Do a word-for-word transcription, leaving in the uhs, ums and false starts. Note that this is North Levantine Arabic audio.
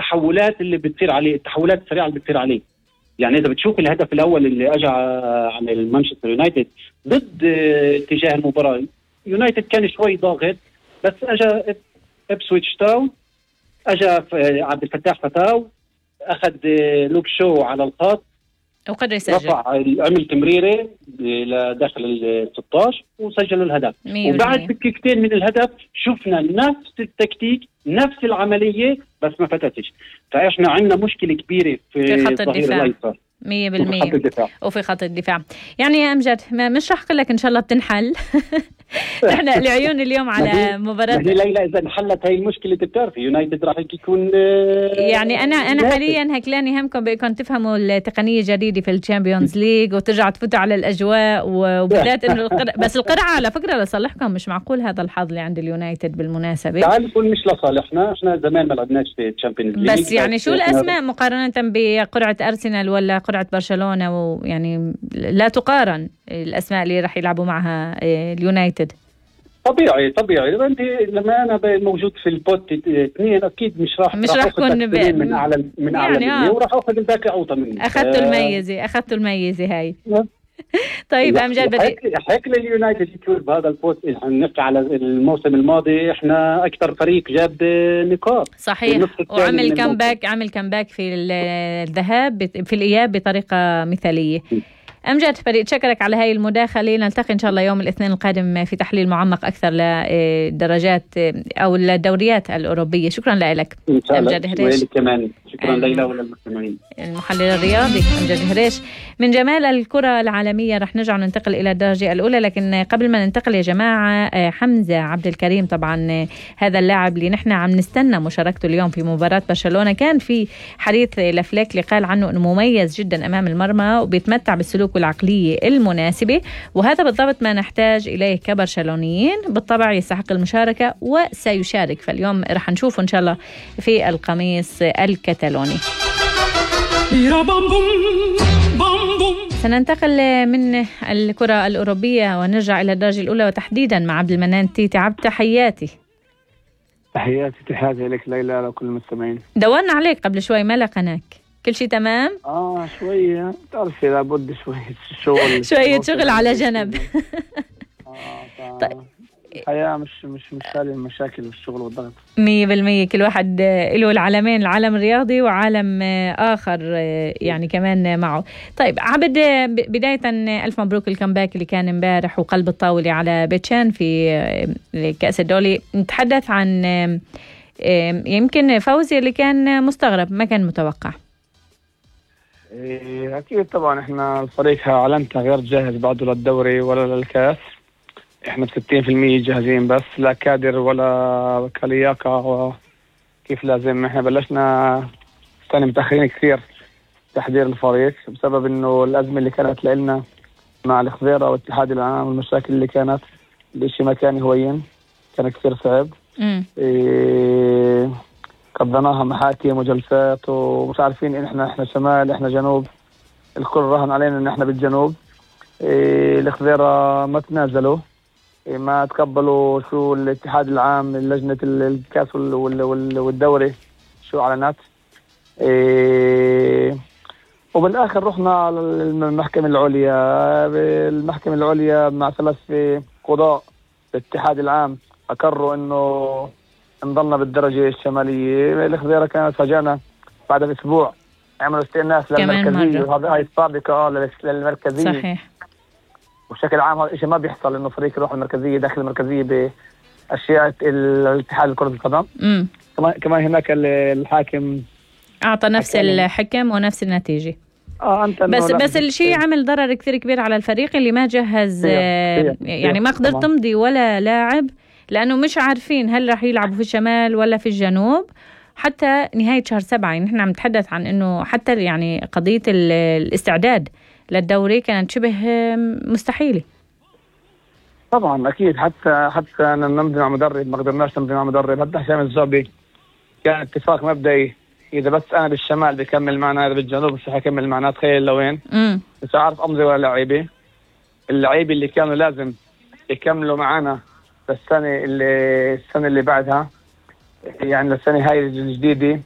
التحولات اللي بتصير عليه، التحولات السريعه اللي بتصير عليه. يعني اذا بتشوف الهدف الاول اللي اجى عن المانشستر يونايتد ضد اتجاه المباراه، يونايتد كان شوي ضاغط، بس اجى ابسويتش تاون، اجى عبد الفتاح فتاو، اخذ لوك شو على الخط وقدر يسجل، رفع عمل تمريره لداخل ال ستة عشر وسجل الهدف. وبعد دقيقتين من الهدف شفنا نفس التكتيك نفس العمليه بس ما فتتش. فاحنا عندنا مشكله كبيره في, في خط الظهير الايسر مية بالمية وفي خط الدفاع. يعني يا أمجد مش رح أقول لك إن شاء الله بتنحل. نحن العيون اليوم على مباراة ليلى. إذا انحلت هاي المشكلة بتعرفي يونايتد راح يكون يعني أنا أنا حاليا هكلاني همكم بيكم تفهموا التقنية الجديدة في الشامبيونز ليج وترجع تفوتوا على الأجواء، وبالذات إنه القر... بس القرعة على فكرة لصالحكم، مش معقول هذا الحظ اللي عند اليونايتد بالمناسبة. تعال نقول مش لصالحنا، إحنا زمان ما لعبناش في الشامبيونز ليج، بس يعني شو الأسماء مقارنة بقرعة أرسنال ولا قرعة برشلونة؟ ويعني لا تقارن الأسماء اللي راح يلعبوا معها اليونايتد. طبيعي طبيعي انت لما انا موجود في البوت اثنين اكيد مش راح مش راح اكون ب... من اعلى من اعلى يعني وراح اخذ الباقي اوطى مني. اخذتوا الميزه اخذتوا الميزه هاي. طيب امجد بدي حكي لليونايتد يكون بهذا البوست. نحكي على الموسم الماضي احنا اكثر فريق جاب نقاط صحيح، وعمل كمباك عمل كمباك في الذهاب في الاياب بطريقه مثاليه. أمجد بدي أتشكرك على هاي المداخلة. نلتقي إن شاء الله يوم الاثنين القادم في تحليل معمق أكثر لدرجات أو الدوريات الأوروبية. شكرا لك أمجد هريش. كمان شكرا ليلى وللمستمعين. المحلل الرياضي أمجد هريش. من جمال الكرة العالمية رح نرجع ننتقل إلى الدرجة الأولى، لكن قبل ما ننتقل يا جماعة، حمزة عبد الكريم طبعا هذا اللاعب اللي نحن عم نستنى مشاركته اليوم في مباراة برشلونة، كان في حديث لفليك اللي قال عنه أنه مميز جدا أمام المرمى وبيتمتع بالسلوك والعقلية المناسبة، وهذا بالضبط ما نحتاج إليه كبرشلونيين. بالطبع يستحق المشاركة وسيشارك، فاليوم رح نشوفه إن شاء الله في القميص الكتالوني. سننتقل من الكرة الأوروبية ونرجع إلى الدرجة الأولى، وتحديدا مع عبد المنان تيتي. عبد تحياتي. تحياتي تحياتي لك ليلى لكل المستمعين. دورنا عليك قبل شوي ما لقناك، كل شيء تمام؟ اه شوية تعرفي لابد شوية شغل شوية شغل على جنب. اه طيب الحياة مش مش مش خالي المشاكل والشغل والضغط. مية بالمية كل واحد له العالمين، العالم الرياضي وعالم آخر يعني كمان معه. طيب عبد، بداية ألف مبروك الكمباك اللي كان امبارح وقلب الطاولة على بيتشان في كأس الدولي. نتحدث عن يمكن فوزي اللي كان مستغرب، ما كان متوقع. أكيد طبعا إحنا الفريق علمتها غير جاهز بعده للدوري ولا للكاس. إحنا بستين في المية جاهزين، بس لا كادر ولا كلياقة كيف لازم. إحنا بلشنا سنة متأخرين كثير تحضير الفريق بسبب إنه الأزمة اللي كانت لنا مع الخضيرة والاتحاد العام والمشاكل اللي كانت. الإشي ما كان هوين، كان كثير صعب. إيه قضيناها محاكم وجلسات ومش عارفين إن إحنا إحنا شمال إحنا جنوب. الكل رهن علينا إن إحنا بالجنوب. إيه الخضيرة ما تنازلوا، إيه ما تقبلوا شو الاتحاد العام لجنة الكاس والدوري شو أعلنت. إيه وبالآخر رحنا للمحكمة العليا. المحكمة العليا مع ثلاث قضاء الاتحاد العام أقروا إنه نضلنا بالدرجة الشمالية. الخضيرة كانت فاجأنا بعد أسبوع عملوا استئناس للمركزية، وهذا هاي السابقة للمركزية. صحيح. وبشكل عام هذا الشيء ما بيحصل، إنه فريق يروح المركزية داخل المركزية بأشياء الاتحاد كرة القدم. كمان كمان هناك الحاكم أعطى نفس الحكم ونفس النتيجة. آه أنت بس بس الشيء عمل ضرر كثير كبير على الفريق اللي ما جهز. هي. هي. يعني ما قدر تمضي ولا لاعب، لأنه مش عارفين هل رح يلعبوا في الشمال ولا في الجنوب حتى نهاية شهر سبعة. يعني نحن عم نتحدث عن إنه حتى يعني قضية الاستعداد للدوري كانت شبه مستحيلة. طبعا أكيد، حتى حتى نمضي مع مدرب ما قدرناش نمضي مع مدرب. حتى هشام الزعبي كان اتفاق مبدئي، إذا بس أنا بالشمال بكمل معنا، إذا بالجنوب مش حكمل معنا. تخيل لوين مش عارف أمضي ولا لعيبة. اللعيبة اللي كانوا لازم يكملوا معنا السنة اللي السنة اللي بعدها، يعني السنة هاي الجديدة